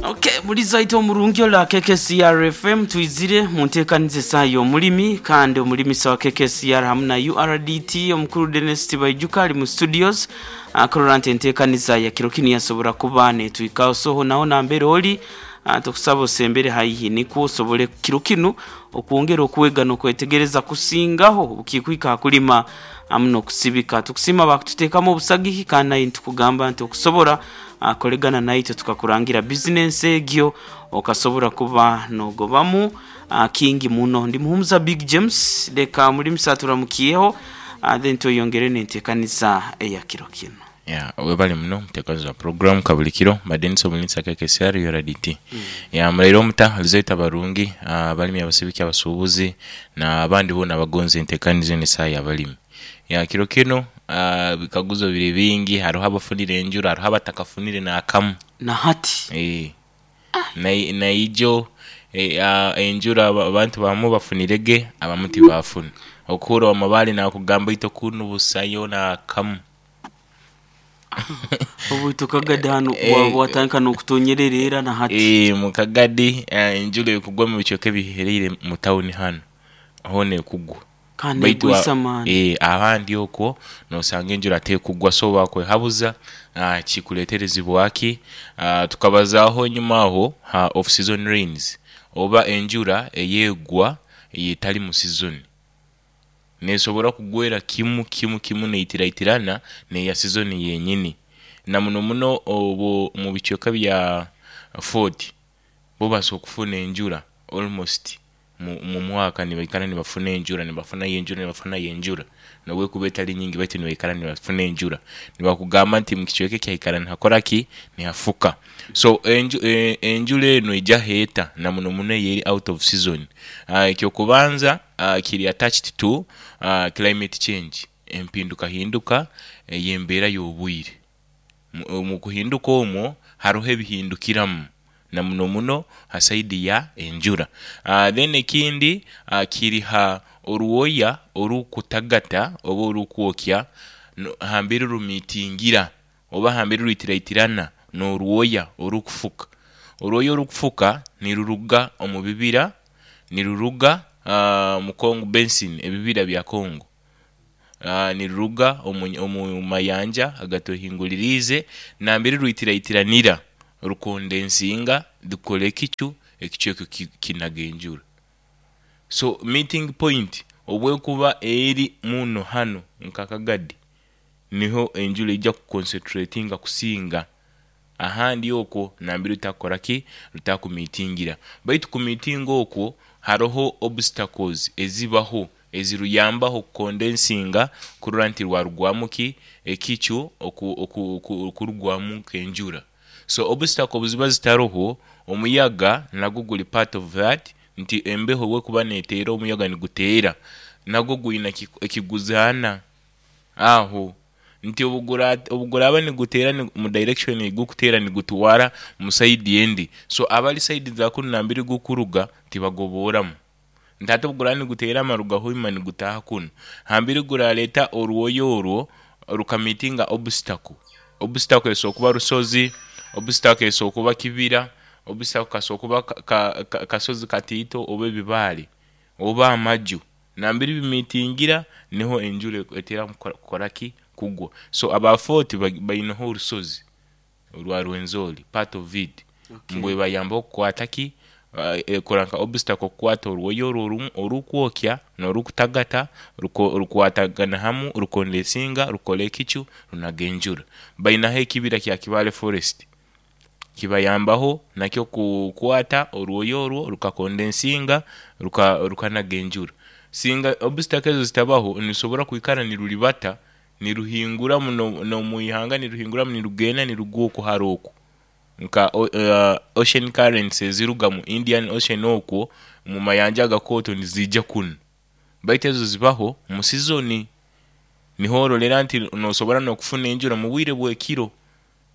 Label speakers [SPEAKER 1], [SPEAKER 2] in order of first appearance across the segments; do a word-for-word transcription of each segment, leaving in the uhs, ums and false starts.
[SPEAKER 1] Okay, muliza omurungi ola K K C R F M, twizire mu nteekaniza esaaha y'omulimi kandi omulimisa wa K K C R hamu na U R D T, omukuru Denis Tibaijuka, ali mu studios akorora nti enteekaniza ya kiro kinu yasobora kuba netwikaho. Soho naho nambere oli, ah, tukusaba osembere haihi nikwo osobole kiro kinu okwongera okwega n'okwetegereza kusingaho bukikwika hakulima hamu n'okusibika. Tukusima bakututeekamu obusagihi kandi naye nitukugamba nti okusobora ah, kolegana naitwe tukakurangira bizinensi egyo okasobora kuba nogobamu ah, kingi muno. Ndi Muhumuza Big James. Leka mulimisa turamukiyeho, ah, then tweyongere n'enteekaniza eya kiro kinu.
[SPEAKER 2] Ya, webale muno muteekaniza wa program kabuli kiro Madenisa omulinsa K K C R U R D T. Ya, mulaire omuta lizaita barungi abalimi, abasibiki, abasuubuzi n'abandi boona abagonza enteekaniza enu esaaha y'abalimi. Ya, kiro kinu ah, bikaguzo biri bingi. Haroho abafunire enjura, haroho abatakafunire n'akamu.
[SPEAKER 1] Na hati?
[SPEAKER 2] Eh. Nai- naijo eh, ah, enjura aba- abantu bamu bafunirege, abamu tibafuna. Okuhura amabaale nakugamba ito kunu busayo n'akamu.
[SPEAKER 1] Obwitu Kagadi hanu
[SPEAKER 2] Eh,
[SPEAKER 1] watandika n'okutonyerera era na hati?
[SPEAKER 2] Eh, mu Kagadi eh, enjura ekugwa mu bicweka ebihereire mu tawuni hanu hoona ekugwa.
[SPEAKER 1] Kandi
[SPEAKER 2] baitu a-
[SPEAKER 1] egwisa amaani.
[SPEAKER 2] Eh, ahandi okwo nosanga enjura tekugwa, so bakwehabuza ah, kikuleterezibwaki? ah, tukabazaaho enyuma aho ha off season rains oba enjura eyegwa eyetali mu season, nesobora kugwera kimu kimu kimu neitiraitirana neya season yenyini, na muno muno obu mu bicweka bya Fort bo basobola okufuna enjura almost mu mu mwaka, nibaikara nibafuna enjura, nibafunayo enjura, nibafunayo enjura nobwekuba etali nyingi, baitu nibaikara nibafuna enjura. Nibakugamba nti mu kicweka eki haikara nihakora ki? Nihafuka. So enju, e, enjura eno ija eta na muno muno eyeri out of season, uh, ekyokubanza uh, kiri attached to uh, climate change, empinduka hinduka ey'embeera y'obwire. Mu mu kuhinduka omwo haroho ebihindukiramu na muno muno ha side ya enjura. uh, then ekindi uh, kiri ha orwoya orukutagata oba orukwokya no- hambere rumitingira oba hambere rwitiraitirana n'orwoya orukufuka. Orwoya orukufuka niruruga omu bibira, niruruga uh, mu Congo Basin, ebibira bya Congo, uh, niruruga omu, omu mayanja agatwehinguliriize. Nambere rwitiraitiranira rukondensinga, rukora ekicu, ekicu ekyo ki- kinaga enjura. So meeting point obwekuba eri muno hanu nka Kagadi, niho enjura ejya kuconcentratinga kusinga ahandi okwo nambere rutakukora ki? Rutakumitingira. Baitu kumitinga okwo haroho obstacles ezibaho eziruyambaho kukondensinga kurora nti rwarugwamu ki? Ekicu oku- oku- oku- okurugwamu nk'enjura. So obstacle obu ziba zitaroho, omuyaga nagwo guli part of that, nti embeho obwekuba neteera, omuyaga niguteera, nagwo gwina eki- ekiguzaana aho, nti obugura obuguraba niguteera ni- mu direction egukuteera nigutwara mu side endi. So abali side za kunu nambere gukuruga tibagoboramu, nti ate obuguraba niguteera amaruga hoima nigutaaha kunu hambere guraleeta orwoya orwo rukamitinga obstacle. Obstacle esobola kuba rusozi, obstacle esobola kuba kibira, obstacle kasobola kuba ka- ka- ka- kasozi katiito oba ebibaale oba amaju. Nambere bimitingira niho enjura etera kukora- kukora ki? Kugwa. So aba Fort baineho orusozi orwa Rwenzori, part of it.
[SPEAKER 1] Okay.
[SPEAKER 2] Mbwe bayamba okukwata ki? uh, ekora nka obstacle okukwata orwoya orwo orumu orukwokya n'orukutagata, ruko- rukwatagana hamu, rukondensinga, rukora ekicu, runaga enjura. Bainaho ekibira kya Kibale Forest, kibayambaho nakyo kukwata orwoya orwo rukakondensinga, ruka rukanaga enjura. Singa obstacle ezo zitabaho, nirusobora kwikara niruribata niruhingura muno n'omwihanga, niruhinguramu nirugenda nirugwa oku hara oku nka o- uh, ocean currents eziruga mu Indian Ocean okwo mu mayanja agakooto nizija kunu. Baitu ezo zibaho mu season, niho orolera nti nosobora n'okufuna enjura mu bwire bw'ekiro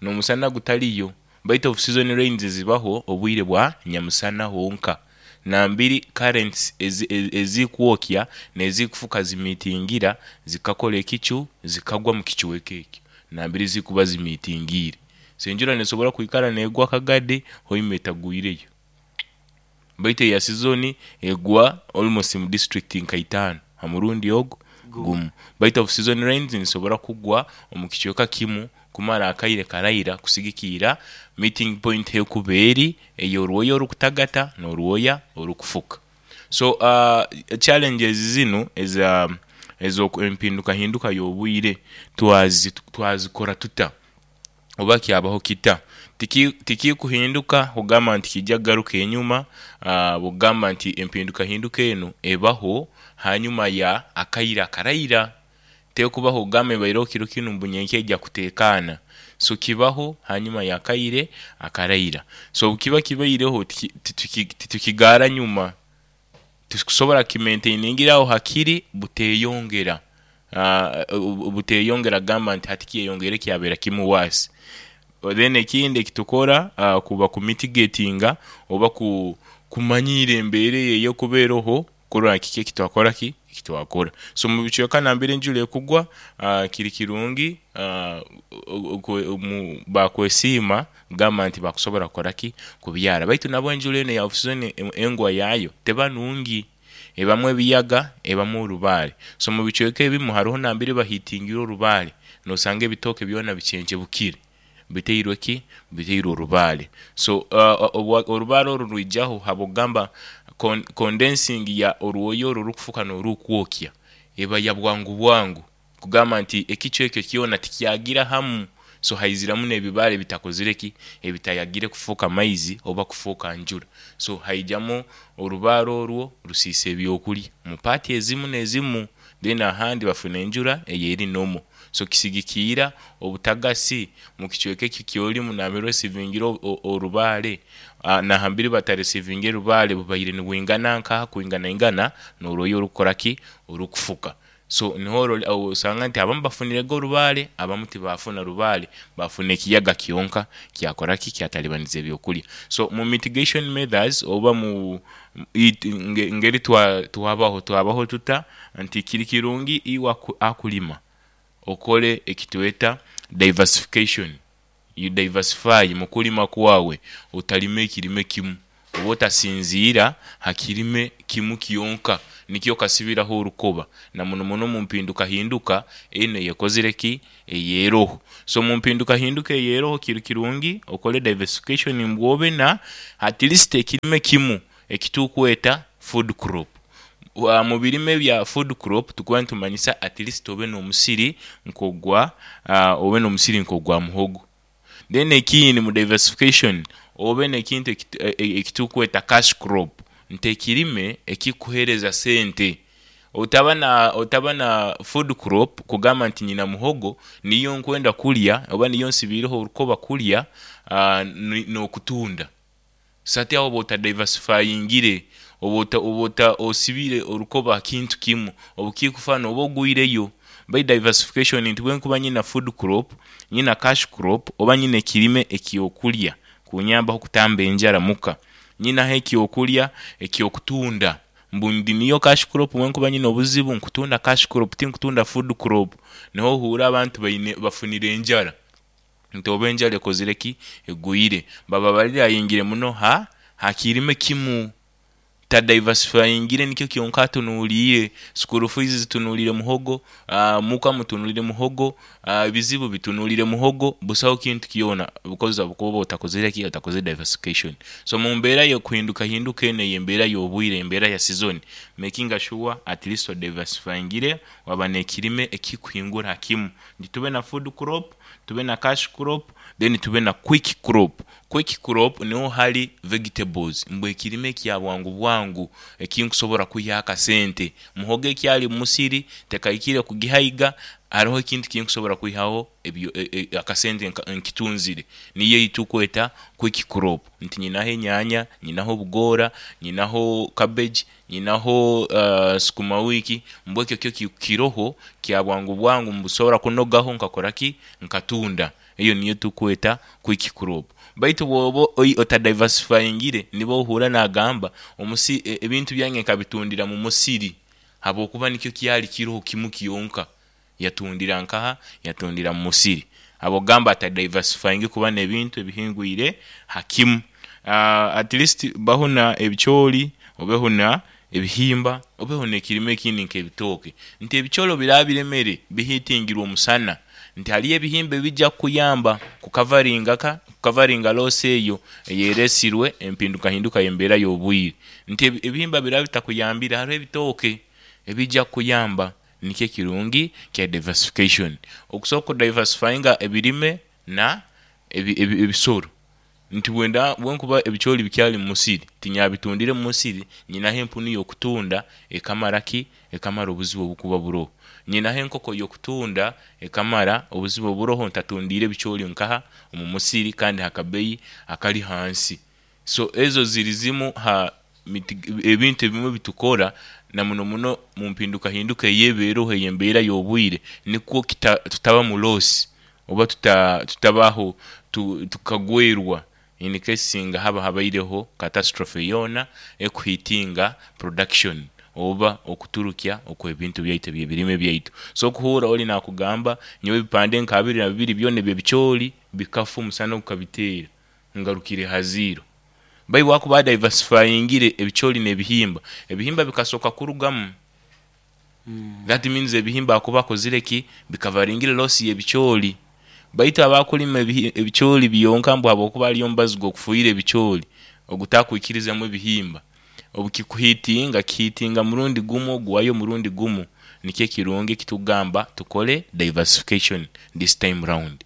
[SPEAKER 2] n'omusana gutaliyo. Baitu off season rains zibaho obwire bwa nyamusana honka, nambiri currents ezi- ezi- ezikwokya n'ezikufuka zimitingira zikakora ekicu, zikagwa mu kicweka ekyo nambiri zikuba zimitingiire. So enjura nesobora kwikara negwa akagade, Hoima etagwireyo, baitu eya season egwa almost mu district nka itaano ha murundi ogu gumu. Baitu off season rains nisobora kugwa omu kicweka kimu kumara akaire karaira, kusigikiira meeting point hekuba eri ey'orwoya orukutagata n'orwoya orukufuka. So uh, challenges zinu eza ez'empindukahinduka y'obwire twazi twazikora tuta oba kyabaho kita? Tiki tikikuhinduka kugamba nti kijja kugaruka enyuma. uh, bwokugamba nti empindukahinduka enu ebaho hanyuma ya akaire akaraira, tekubaho kugamba ebaireho kiro kinu mbu nyenkya ejja kuteekaana. So kibaho hanyuma y'akaire akaraira. So obukiba kibaireho, titukigaara nyuma, tukusobora kimaintainingira aho hakiri buteyongera, uh, buteyongera gamba nti hati kyeyongere kyabeera kimu waasi. Then ekindi ekitukora uh, kuba kumitigatinga oba ku kumanyiira embeera eyo ey'okubeeroho, kurora kiki ekitwakora ki ekitwakora. So mu bicweka nambere enjura ekugwa, uh, kiri kirungi uh, bakwesiima gamba nti bakusobora kukora ki, kubyara. Baitu nabwo enjura enu eya off-season engwa yaayo teba nungi, ebamu ebiyaga, ebamu orubaare. So mu bicweka ebimu haroho nambere bahitingire orubaare, nosanga ebitooke byona bicenjebukire, biteirwe ki, biteirwe orubaare. So uh, orubaare oru rwijaho habwokugamba condensing ya orwoya oru orukufuka n'orukwokya eba ya bwangu bwangu, kugamba nti ekicu ekyo kyona tikyagira hamu. So haiziramu n'ebibaare bitakozire ki, ebitayagire kufuuka maizi oba kufuuka njura. So haijamu orubaare orwo rusiisa ebyokurya mu paati ezimu n'ezimu, then ahandi bafuna enjura eyeri nomo. So kisigikiira obutagasi mu kicweka eki kyolimu nambere osivingire orubaare, nahambiri bataresivinga orubaare bubaire nibwingana nkaha, kwingana ingana n'orwoya orukukora ki, orukufuka. So niho osanga nti abamu bafunirege orubaare, abamu tibafuna rubaare, bafuna ekiyaga kyonka kyakora ki, kyatalibaniza ebyokurya. So mu mitigation methods oba mu ngeri twabaho twabaho tuta nti kiri kirungi iwe akulima okole ekitweta diversification. You diversify mu kulima kwawe, otalima ekirime kimu oba otasinziira ha kirime kimu kyonka nikyo kasibiraho orukoba, na muno muno mu mpindukahinduka enu eyekozire ki, eyeroho. So mu mpindukahinduka eyeroho kiri kirungi okole diversification, mbwobe na at least ekirime kimu ekitukweta food crop. Mu birime bya food crop tukuba nitumanyisa at least obe n'omusiri nk'ogwa uh, obe n'omusiri nk'ogwa muhogo. Then ekindi mu diversification, obe n'ekintu ekitukweta cash crop, nti ekirime ekikuhereza sente. Otaba na otaba na food crop kugamba nti nyina muhogo niyo nkwenda kulya oba niyo nsibiireho orukoba kulya uh, n'okutunda. Sati aho oba otadiversifyingire, oba oba osibire orukoba kintu kimu, obukikufa noba ogwireyo. By diversification nti bwenkuba nyina food crop, nyina cash crop, oba nyina ekirime ekyokulya kunyambaho kutamba enjara muka, nyinaho ekyokulya ekyokutunda, mbundi niyo cash crop. Bwenkuba nyina obuzibu nkutunda cash crop, tinkutunda food crop. Niho ohura abantu baine bafunire enjara, nti oba enjara ekozire ki, egwire, baba barirayingire muno ha hakirime kimu, tadiversifyingire, nikyo kyonka atunuliire. School fees zitunulire muhogo, uh, muka mutunulire muhogo, ebizibu uh, bitunulire muhogo, busaho kintu kyona, because kuba otakozire ki, otakozire diversification. So mu mbeera y'okuhinduka hinduka eno ey'embeera y'obwire, embeera ya season, making sure at least odiversifyingire, waba n'ekirime ekikuhingura kimu, nti tube na food crop, tube na cash crop, then tube na quick crop. Quick crop niho hari vegetables, mbwe ekirime ekya bwangu bwangu ekinkusobora kwiha akasente. Muhogo ekyali musiri tekahikire kugihaiga, hariho ekintu kinkusobora kwihaho ebyo e, e, akasente nkitunzire, niyo eitukweta quick crop. Nti nyinaho enyanya, nyinaho obugora, nyinaho cabbage, nyinaho uh, sukuma wiki, mbwe ekyo kyo kiroho kya bwangu bwangu, mbusobora kunogaho nkakora ki, nkatunda. Eyo niyo tukweta quick crop. Baitu bwoba otadiversifyingire, nibo ohura nagamba omusi ebintu byange nkabitundira mu musiri, habwokuba nikyo kyali kiroho kimu kyonka, yatundira nkaha, yatundira mu musiri. Abogamba ata diversifying kuba n'ebintu ebihingwire hakimu. uh, at least bahuna ebicooli, obehuna ebihimba, obeho n'ekirime ekindi nk'ebitooke, nti ebicooli biraba biremere bihitingirwe omusana, nti haliyo ebihimba ebijja kukuyamba kukavaringa ka kukavaringa loss eyo eyeresirwe empindukahinduka y'embeera y'obwire, nti ebi- ebihimba biraba bitakuyambire, hariho ebitooke ebijja kukuyamba. Nikyo ekirungi kya diversification, okusobola okudiversifyinga ebirime na ebi- ebi- ebisoro, nti bwenda bwenkuba ebicooli bikyali mu musiri, tinyabitundire mu musiri, nyinaho empunu y'okutunda ekamara ki ekamara obuzibu obukuba buroho, nyinaho enkoko y'okutunda ekamara obuzibu oburoho, ntatundiire ebicooli nkaha omu musiri kandi hakabeyi akali hansi. So ezo ziri zimu ha miti- ebintu ebimwe bitukora na muno muno mu mpindukahinduka eyebeeroho ey'embeera y'obwire, nikwo kita, tutaba mu loss oba tuta, tutabaho tu, tukagwerwa in case singa haba habaireho catastrophe yoona ekuhitinga production oba okuturukya okw'ebintu byaitu ebyebirime byaitu. So okuhuura oli nakugamba, nyowe ebipande nka abiri na bibiri byona ebyebicooli bikafa, omusana gukabiteera, ngarukire ha zero. Bai wakuba diversifyingire ebicooli n'ebihimba, ebihimba bikasoka kurugamu, that means ebihimba akuba akozire ki, bikavaringire loss y'ebicooli. Baitu abakulima ebihi- ebicooli byonka, mbu habwokuba aliyo omubazi gw'okufuhira ebicooli ogutakwikirizamu ebihimba, obukikuhitinga kihitinga murundi gumu, oguwayo murundi gumu. Nikyo ekirungi ekitugamba tukole diversification this time round.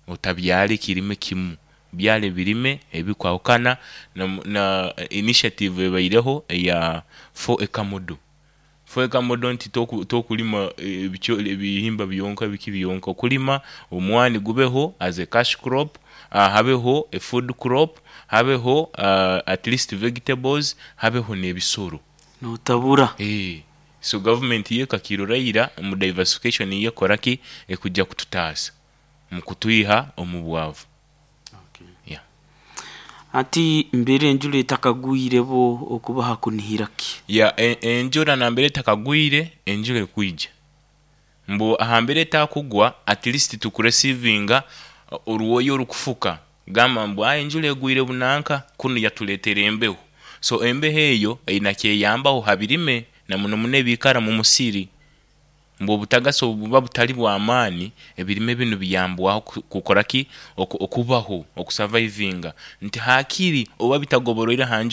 [SPEAKER 2] Otabyala ekirime kimu, byala ebirime ebikwahukana. na, na initiative ebaireho eya four acre model, four acre model, nti toku- tokulima ebicooli ebihimba byonka, biki byonka, okulima omwani gubeho as a cash crop, uh, habeho a food crop, habeho uh, at least vegetables, habeho n'ebisoro.
[SPEAKER 1] Notabura.
[SPEAKER 2] Eh, so government ye kakirora mu diversification yekora ki ekujja kututaasa mu kutwiha omu bwavu. Yeah.
[SPEAKER 1] Ati mbere enjura etakagwire, bo okubaha kunihira ki?
[SPEAKER 2] Ya, e- enjura nambere etakagwire, enjura ekwija mbu ahambere etakugwa, at least tukureceivinga oruwoyo orukufuka, gamba mbu "Ah, enjura egwire bunanka kunu yatuletera embeho." So embeho eyo eina kyeyambaho ha birime, na muno muno ebikara mu musiri, mbu obutagasi obu buba butali bw'amaani, ebirime binu biyambwaho ku- kukora ki, Oku- okubaho, okusurvivinga, nti hakiri oba bitagoboroire ha njura.